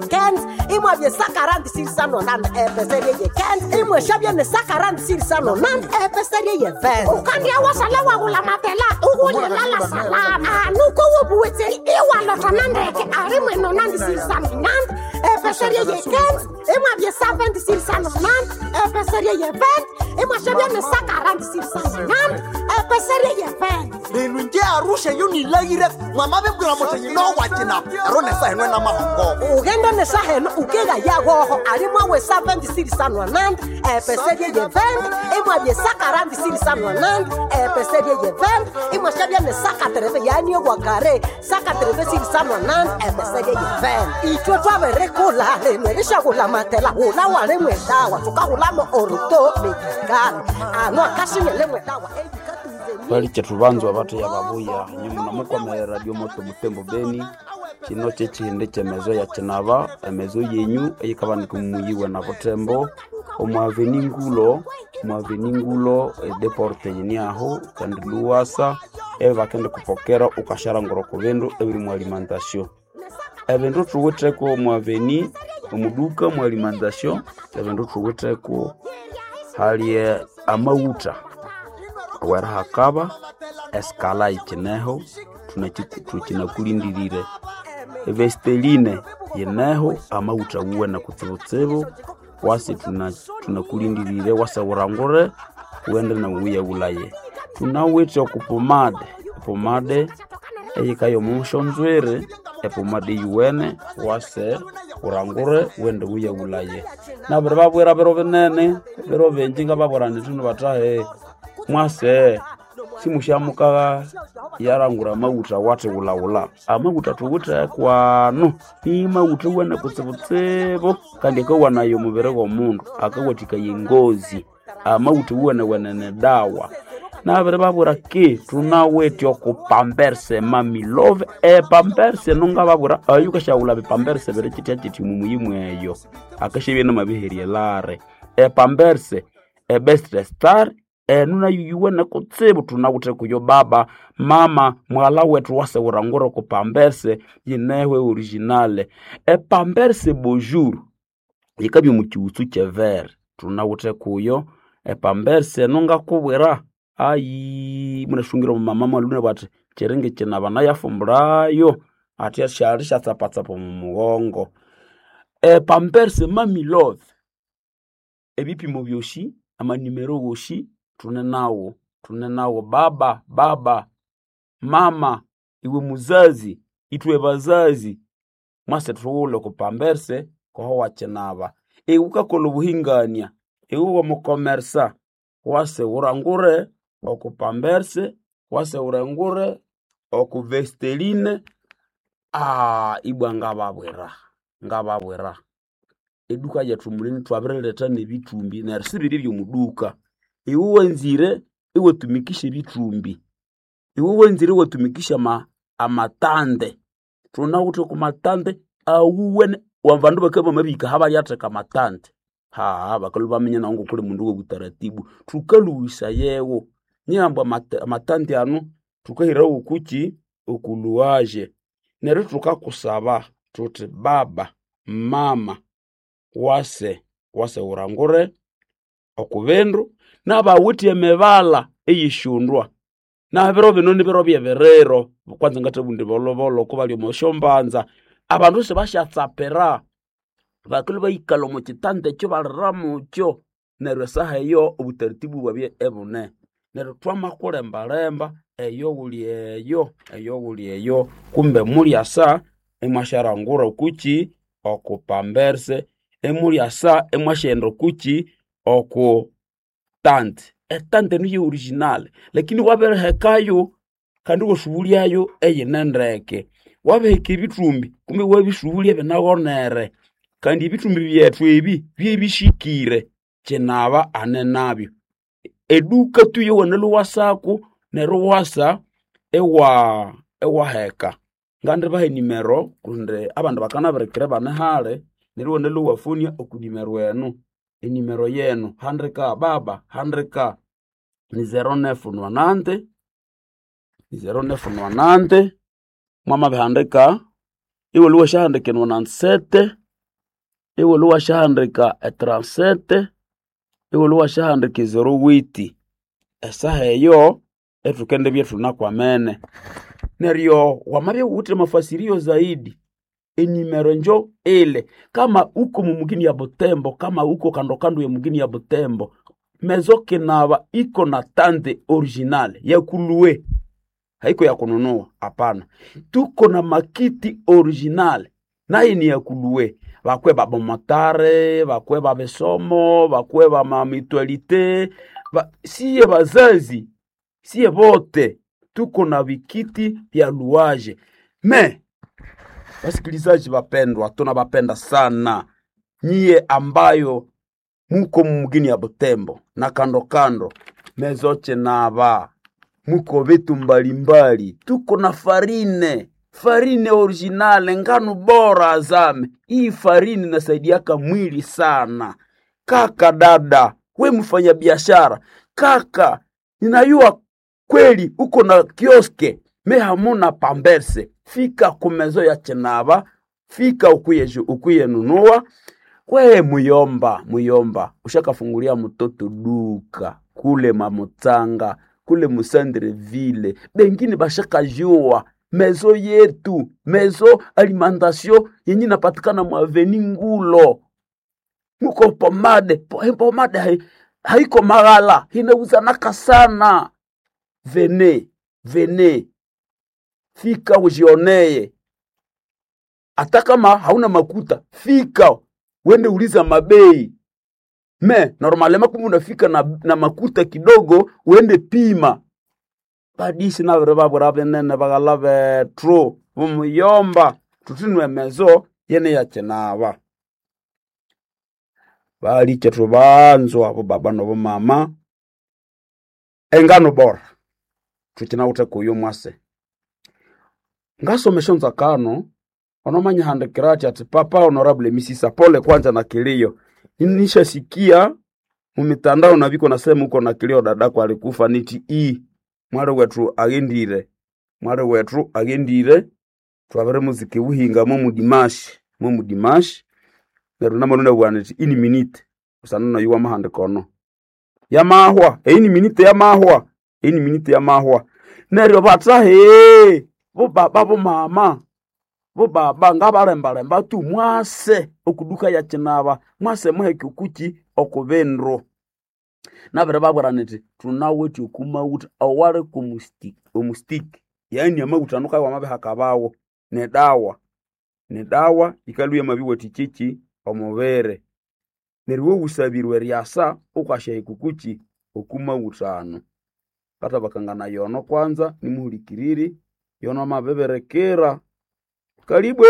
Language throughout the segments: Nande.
15 imwabye 146 epeserie ye 15 imweshabye ne 146 epeserie ye 20 ukandia wasala wagula matela ugulyelala salama anuko wobuwetseri iwalotana ndeke ari mweno 969 epeserie ye 15 imwabye 769 epeserie ye 20 imwashabye ne 146 epeserie ye 20 lelu nje arusha yonilayire mwamavebwira mutenyi nowacina ero nesahenwe namahongoko ugenda nesaheno ukega yagoho alimwawe 769 epeserie ye 20 imwabye 146 epeserie ye 20 imwashabya ne 130 yaniogwa kare 136 epeserie ye 20 itwe twaverekula limwe lishakula matela ula walimwe dawa tukahulamo oruto medikali ano akasinyele dawa Twalike tubanzwa batya babuya nyuma namukwamera radio moto mutembo beni kino kyekihindi kyemezo ya kinaba emezo yenyu eyikabanika mumuyiwe na butembo omwaveni ngulo mwaveni ngulo edeporte yini aho kandi luwasa ebakende kupokera ukasharangura ku bindu ebiri mu alimentation ebindu thuwitheko omwaveni omuduka mu alimentation ebindu thuwitheko hali amawutha wera hakaba esikala yikineho tukinakulindirire evesteline yineho amawutha wuwene kutsibutsibu wasi tunakulindirire wasawurangure wende nawuya wulaye tunawithe okupomade epomade eyikayo omushonzwere epomade yuwene wase urangure wende wuya wulaye nabiri babwira biro binene biro bingi ngababwira nithino batahe mwase simushamuka yarangura amawutha wati wulawula amawutha thuwithe kwano ni mawutha wene kutsibutsibu kandi akawanayo omubiri gwomundu akawathikaya engozi amawutha wuwene wenene dawa nabiri babwira ki thunawithe okupamberse mamilove epamberse nungababwira ayo ukashawula bipamberse biri kitya kiti mumuyimu eyo akashabya namabiherye lare epamberse ebest star enu nayo yuwene kutsibu tunawithe kuyo baba mama mwala wethu wasewurangura okupamberse yinehwe originale epamberse bonjour yikabya omukiwutsu kyevere tunawithe kuyo epamberse nungakubwira ayi munashungira omumama mwalune bati chiringi kinaba nayafumburayo ati syali syatsapatsapa omu mughongo epamberse mami love ebipimo byosi amanimero wosi tune nawo tune nawo baba baba mama iwe muzazi itwe bazazi mwase thuwule kupamberse koho wakinaba iwe ukakolha obuhingania iwe wamukomersa wase wurangure okupamberse wase wurangure okuvesteline ibwa ngababwira ngababwira eduka yethu mulini twabiriletha nebithumbi neryo sibiri byomuduka iwe wanzire iwatumikisha ebithumbi iwe wanzire iwatumikisha amatande thunawithe kumatande awuwene abandu bakabya bamabihika abalyatheka amatande haha bakalhwa baminya nawu ngokuli mundu wobutaratibu thukalhuwisa yewo nyihambu amatande anu thukahirawo okukyi okuluwaje neryo thukakusaba thuthi baba mama wase wase wurangure okubindu nabawithe emibala eyishundwa nabiro bino nibiro byebiriro kwanza ngathabundi bolobolo kubali omosyombanza abandu sibasyatsapira bakilwa bayikalha omo kitanda ekyo balira mukyo neryo esaha eyo obutaratibu bwabya ebune neryo twamakulembalemba eyo wuli eyo eyo wuli eyo kumbe mulyasa imwasyarangura okukyi okupamberse imulyasa imwasyaghenda okukyi oku tante etante niyo original lakini wabirihekayo kandi iwasubulyayo eyine ndeke wabiheka ebithumbi kumbe iwabisubulya ibinaghonere kandi ebithumbi byethu ebi byebishikire kinaba ane nabyo eduka tu yowana lhuwasaku neryo iwasa iwa iwaheka ngandibaha enimero kundi abandu bakanabirikira ibane hali neryo iwana lhuwafonia okunimero enu enimero yenu handika baba handika ni 0990 ni 0990 mwamabihandika iwalhuwa syahandika 97. Iwolho wasyahandika e37, iwolho wasyahandika e08. Esaha eyo ethukendibya ithunakwamene. Neryo wamabya iwuwithe amafasirio zaidi, enimero njo ile kama uko mumugini ya Butembo, kama uko kando kando ya mugini ya Butembo, mezo kinaba iko na tande original ya kulue, haiko ya kununua, hapana. Tuko na makiti original naye ni ya kulue, bakwe babomotare, bakwe babesomo, bakwe bamamitualite ba, siye bazazi siye bote tuko na vikiti vya luaje me. Wasikilizaji wapendwa, tunawapenda sana nyie ambayo muko mugini ya Butembo na kando kando mezoche nava muko vitu mbalimbali, tuko na farine farine originale, ngano bora azame. Hii farine inasaidiaka mwili sana. Kaka dada, we mfanya biashara kaka, ninayua kweli uko na kioske me hamuna pamberse, fika kumezo ya chenaba, fika ukuye ukuye nunua. We muyomba, muyomba ushakafungulia mtoto duka kule Mamutanga kule Musandreville, bengine bashakajua mezo yetu mezo alimentation yenye inapatikana mwaveni Ngulo muko pomade pomade haiko maghala inauzanaka sana. Vene vene, fika ujioneye, hata kama hauna makuta, fika wende uliza mabei me normalema, kumbe unafika na makuta kidogo, uende pima badisi nabere babwera binene baghala bethu bumuyomba tutinwe mezo yene yakinaba balikye thubanzwa bobaba nobomama engano bora thukinawithe kuyo mwase ngasoma esyonzakano onomanyihandikira athi ati papa honorable misisa pole kwanza na kilio nishasikia mumitandao nabiko nasema uko na kilio dadako alikufa niti i mwali wetu aghendire mwali wetu aghendire twabere muziki buhinga momudimashi momudimashi neryo namanuna bwana niti ini minute usana nayo wamahandikono yamahwa eini minute yamahwa eini minute yamahwa neryo bathahe bobaba bomama bobaba ngabalembalemba tu mwase okuduka ya kinaba mwase muheke okuki okubindu nabere babwira niti thunawithe okumawutha owali omustiki yaani amawutha ano kawa amabihakabawo nedawa nedawa yikalhwa yamabiwathikya omubiri neryo iwe wusabirwe eryasa wukasyahika okuki okumawutha anu ngathabakangana yono kwanza nimuhulikiriri yono amabibirikira kalibwe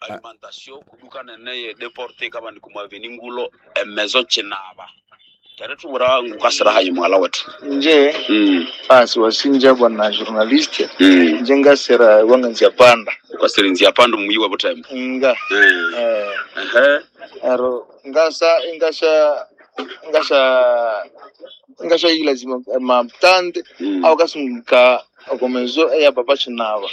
alimentation kuduka nene deporte kaba ndikumwaveni ngulo emezo chinaba teretubura ngukasira hayi mwala wetu Nje asi wasinja bwana journaliste nje ngasera wanga nzia panda ukasira nzia panda mumuyi wa butembo nga ehe aro ngasa ngasha ngasha ngasha ilazima maptande au kasunga okomezo eya papa chinava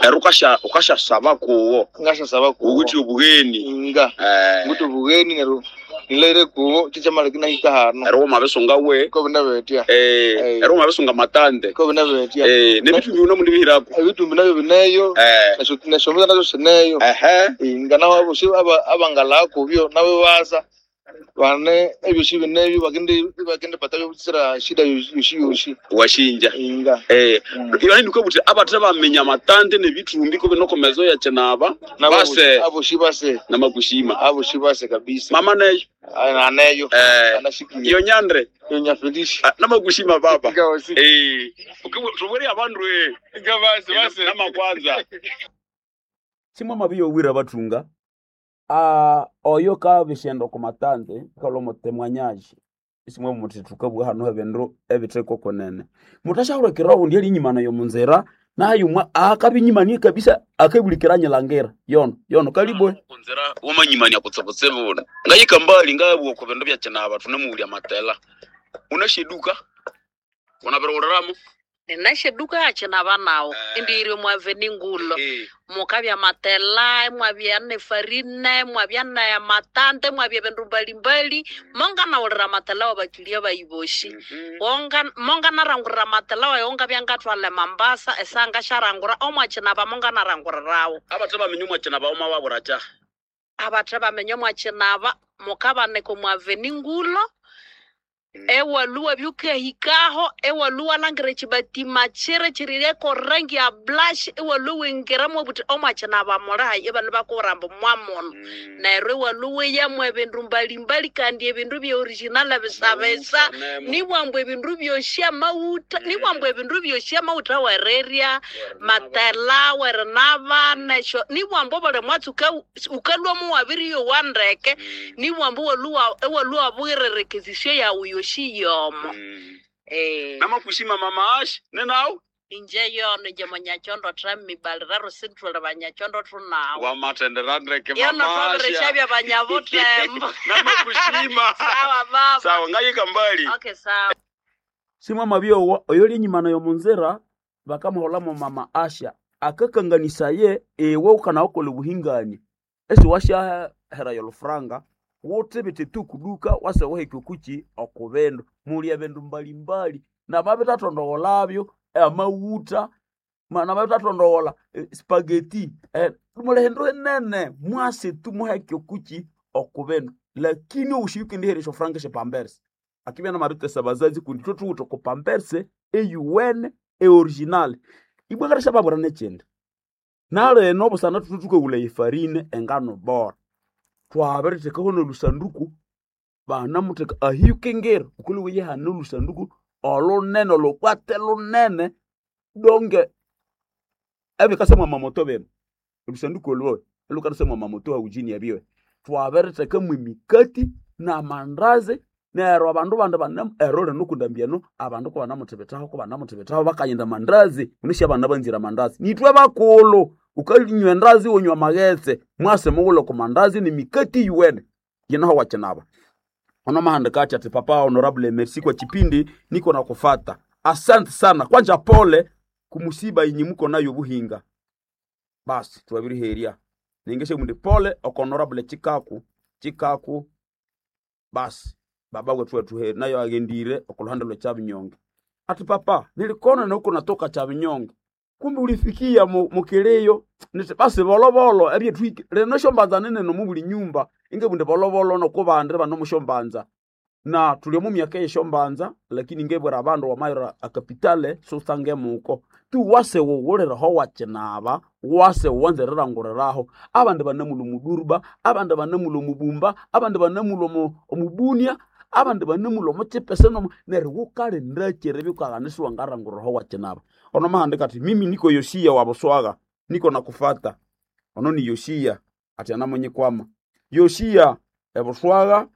ero ukasha ukashasaba kuwo ngasha saba kuwo uwuthi obugheni nga nguti obugheni nero nilaire kuwo chichamala kinahika hano ero wamabisunga we ko binabetia ero wamabisunga matande ko binabetia nebitumbi uno mundibihirako ebitumbi nabyo bineyo neshomeza nazo sineyo nga nabo abosi abangala kubyo nabo baza bane ebyosi binebyo bakindi bakindi pata byobutsira shida yoshi yoshi washinja inga yani niko buti abathe bamenya matande nebitumbi ko binokomezo ya chinaba base aboshi base namakushima aboshi base kabisa mama neyo aneyo anashikiye iyo nyandre iyo nyafelishi namakushima baba tubwire abandu base base namakwanza simwe mabiyowira bathunga oyo kabishenda okumatande kalwa mutemwanyaji isimwe muthi thukabugha hano ebindu ebitheko kunene muthasyahulikirira owundi elinyimana yomunzira naye umwe akabinyimanie kabisa akabulikira nyilangira yono yono kalibwe kunzira wamanyimania kutsibutsibu ngayika mbali ngabugha ku bindu byakinaba thunemuwulya matela unashiduka unabiriwuliramu Ninashe duka yakinaba nawo indiyiri omwaveni ngulo. Mukabya matela, mwabya ne farine, mwabya na matante, mwabya bindu mbalimbali. Monganawulira amatela wabakilia bayiboshi. Wonga monganarangurira amatela wayo ngabya ngatwala Mambasa esanga sharangura omwakinaba monganarangurirawo. Abathe bamenye omwakinaba oma waburacha. Abathe bamenye omwakinaba mukabanika omwaveni ngulo. Ewaluwa byukahikaho ewaluwa langira ekibatima kiri kirireko rangi ya blush ewaluwa ingiramu obuti omwakinaba mulahayi ebanu bakubwira ambu mwamuno. Neryo ewaluwa yamu ebindu mbalimbali kandi ebindu bya original bisabisa nibwambu ebindu byosi amawutha nibwambu ebindu byosi amawutha wererya matela werinaba nesyo nibwambu obuli mwatsi ukalwamu wabiriyowa ndeke nibwambu ewaluwa ewaluwa bwirerekezisyo yawu yosi yomo. Namakushima mama Ash nenawu Inje yono inje munyachondo thamibaliraro sithuli banyachondo thunawo. Wamathendera ndeke Yono mama Asha. twabirikya banyabuthembo. Namakushima. Sawa baba. Sawa ngayika mbali. Okay sawa. Simama byowa oyo lyenyuma nayo munzira bakamuholamo mama Asha akakanganisaye ewe ukanaokola obuhingani esi washahera yolufranga wuthibithe tu kuduka wasewaheka okuki okubindu muli ebindu mbalimbali nababithathondogholabyo amawutha nababithathondoghola spaghetti muli hindu hinene mwase tu muheke okuki okubindu lakini obushi yukendiherya esyofuranga esyepampersi akibya namabithesa bazazi kundi ithwe thuwithe oko pampersi eyuwene eoriginal ibwa babwira nekyindi nalino busana thuthi thukawulha efarine engano bora twabirithekaho nolusanduku banamutheka ahiyukingira wukalhwa hane olusanduku olunene olhubwate lunene donge ebikasa mwamamoto bino olusanduku olwo olhukanasa mwamamoto haujini ebyo twabiritheka mwemikati namandazi neryo abandu bandi bane ero lino kundambiano abandu kubanamuthibithaho kubanamuthibithaho bakayenda mandazi unisha abana banzire amandazi nithwe bakulhu ukalinywa endazi wonywa amaghetse mwase mughulhe ku mandazi nemikati yuwene yinaho wakinaba ono mahandika ati ati papa honorable merci kwa chipindi niko na kufata asante sana kwanja pole kumusiba inyi muko nayo buhinga basi twabiriheria ningeshe mundi pole oko honorable chikaku chikaku basi baba wetu wetu nayo agendire okuluhande lwe Kyabinyonge ati papa nilikona nuko natoka Kyabinyonge kumbe ulifikia mukiliyo niti basi bolobolo ebyetwiki lino shombanza nene nomubuli nyumba ingebunde bolobolo nokubandi banomushombanza na tuli omu myaka eyeshombanza lakini ngebwera abandu wamayira akapitale susangemuko tu wase wuwuliraho wakinaba wase wanzereranguriraho abandi banamulwa omuduruba abandi banamulwa omubumba abandi banamulwa omubunia abandi banamulwa omuchipese nomu neryo wukalindakire byukaghana isiwangaranguriraho wakinaba ono mahandika ati mimi niko Yosia wa Buswaga niko nakufata ono ni Yosia ati anamunyikwama Yosia ebuswaga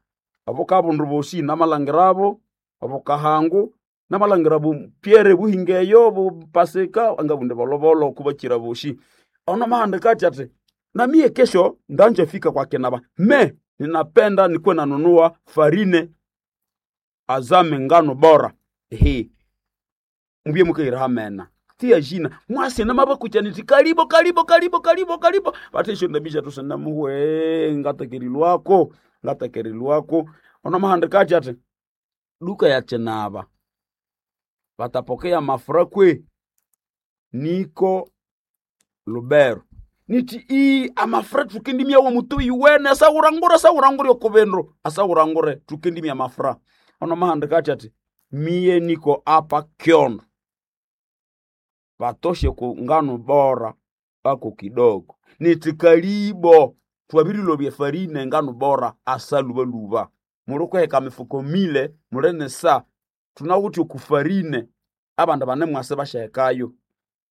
obukabundu bosi namalangirabo obukahangu namalangira bu Pierre buhingeyo bupasika angabunde bolobolo kubakira bosi ono mahandika ati ati na mie kesho ndanje fika kwa kinaba me ninapenda nikuwe nanunua farine azame ngano bora ehe mubye mukaira hamena tia jina mwase namabakucha niti karibo karibo karibo karibo karibo batesho ndabisha tusana muwe ngatakerilwako ngatakerilwako ono mahandika ati ati duka ya chenaba batapokea mafura kwe niko Lubero niti ii amafura tukindimya wo mutuyi wene asawurangure asawurangure okubindu asawurangure tukindimya mafura ono mahandika ati ati mie niko apa Kyondo batoshe ku ngano bora ako kidogo niti kalibo twabirilobya farine ngano bora asalubaluba mulikuheka mifuko mile mulene sa tunawuthi okufarine abandu bane mwase bashahekayo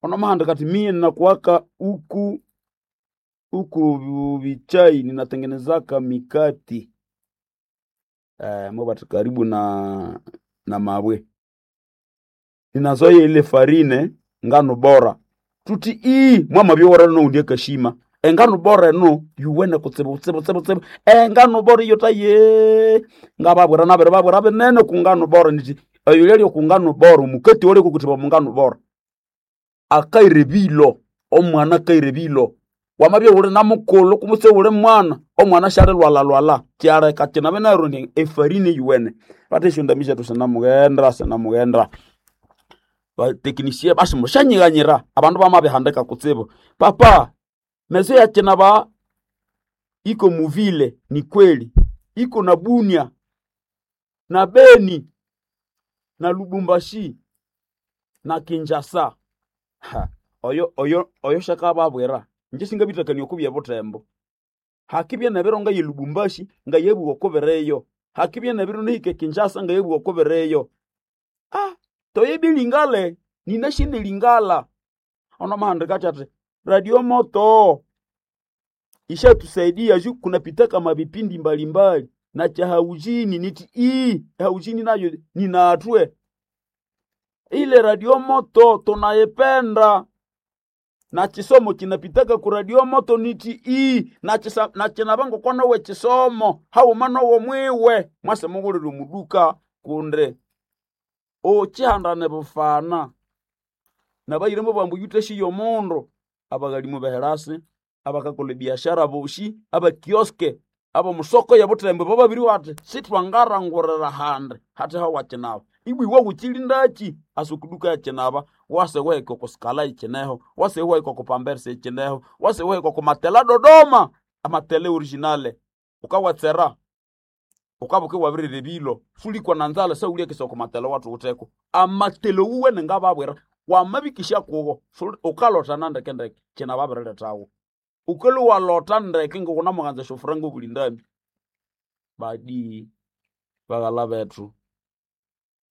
ono mahandika ati mie ninakuwaka uku uku vichai ninatengenezaka mikati mobati karibu na mabwe ninazoya ile farine ngano bora tuti ii mwama byowora noundie kashima engano bora eno yuwene kutsibu kutsibu kutsibu kutsibu engano bora iyo taye ngababwira nabere babwira binene ku ngano bora niti Oyo lyali okungano bora, omukati owali okukuthiba omungano bora. Akaira ebilo, omwana akaira ebilo. Wamabya uli na mukulhu kumutse uli mwana, omwana syalilwalhalwalha. Kyaleka kinabe neryo indi efarine yuwene. Bathe esyondambi syethu sinamughenda, sinamughenda. Bateknisia basi musyanyighanyira, abandu bamabihandika kutsibu. Papa, mezo ya kinaba iko muvile ni kweli, iko na Bunia na Beni na Lubumbashi na Kinshasa. Ha, oyo oyo oyo shakababwira inje singabitakania okubya butembo. Hakibya nebiro ngaye Lubumbashi ngayebuwa okubireyo. Hakibya nebiro nihike Kinshasa ngayebuwa okubireyo. Ah, toyebi lingale ninashine lingala. Ono mahandika ati radio moto ishatusaidia juu kunapitaka mavipindi mbalimbali na cha haujini niti ii haujini nayo ninatwe ile radio moto tunaipenda na chisomo chinapitaka ku radio moto niti ii na chisa, na chinabango kwanowe chisomo hauma nowo mwiwe mwase mughulire omuduka kunde ochihandane bufana nabayiremo bambu yuteshiyo omundu abaghalimu beherasi abakakola ebiashara boshi abakioske abomusoko yabutembe bababiri bati sitwangarangurira handi hati hawakinaba ibwi wawukilindaki asa okuduka yakinaba wase wahika okusikala ikineho wase wahika okupambersa ikineho wase wahika okumatela Dodoma amatele originale ukawatsera ukabuka wabirira ebilo sulikwa na nzala sauliakisa okumatela watu uteko amatele wuwene ngababwira wamabikisha kugo ukalota nandekendeke kinababirilethawo ukelu walota ndeke ngikunamuganza esyofuranga obuli ndambi badi baghala bethu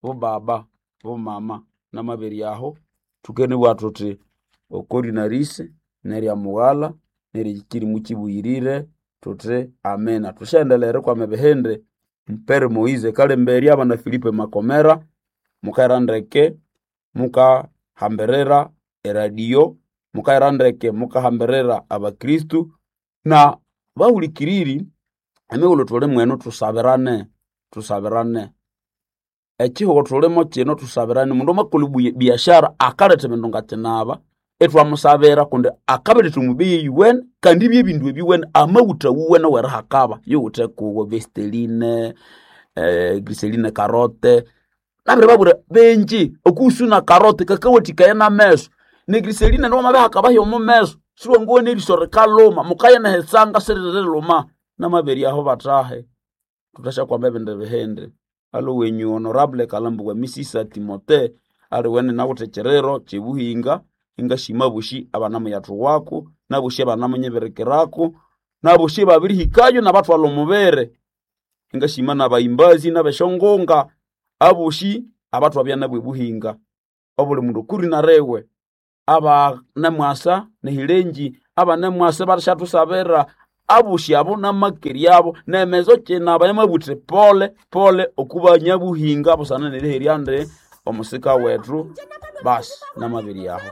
bobaba bomama namabere aho thukenibwa thuthi okorinarisi nerya mughala nerya kirimu kibuyirire thuthi amina. Thusyaendelera erikwama ebihindi Mpere Moise Kalemberya abana Filipe Makomera mukaira ndeke mukahambirira eradio mukaira ndeke mukahambirira abakristu na bahulikiriri emighulhu thuli mwenu thusabirane thusabirane ekihugho thulimo kino thusabirane mundu amakolha biashara akaletha ebindu ngakinaba ithwamusabira kundi akabiletha omubeyi eyuwene kandi ibye ebindu ebiwene amawutha wuwene werihakaba yuwithe kuwo vesteline griseline karote nabiribabwira benji okuhusuna karote kakawathikaya nameso negriseline niwamabihakaba hyomo meso siwanguwa eriso rikaluma mukaya nehitsanga siririluma namabere aho bathahe thuthasyakwama ebindi bihindi alo wenyu honorable Kalambo wa Misisa Timote aliwene nawuthe kiriro kyebuhinga ingashima boshi abanamuyathuwako naboshi abanamunyibirikirako naboshi babirihikayo nabathwalha omubere ingashima nabayimbazi nabeshongonga aboshi abathwabya nabo ebuhinga obuli mundu okuri narewe abanamwasa nehilenji abanamwasa basyathusabira aboshi abo namakeri abo nemezo kinaba yamabuthi pole pole okubanyabuhinga busana neriherya ndi omusika wethu basi namabiri aho.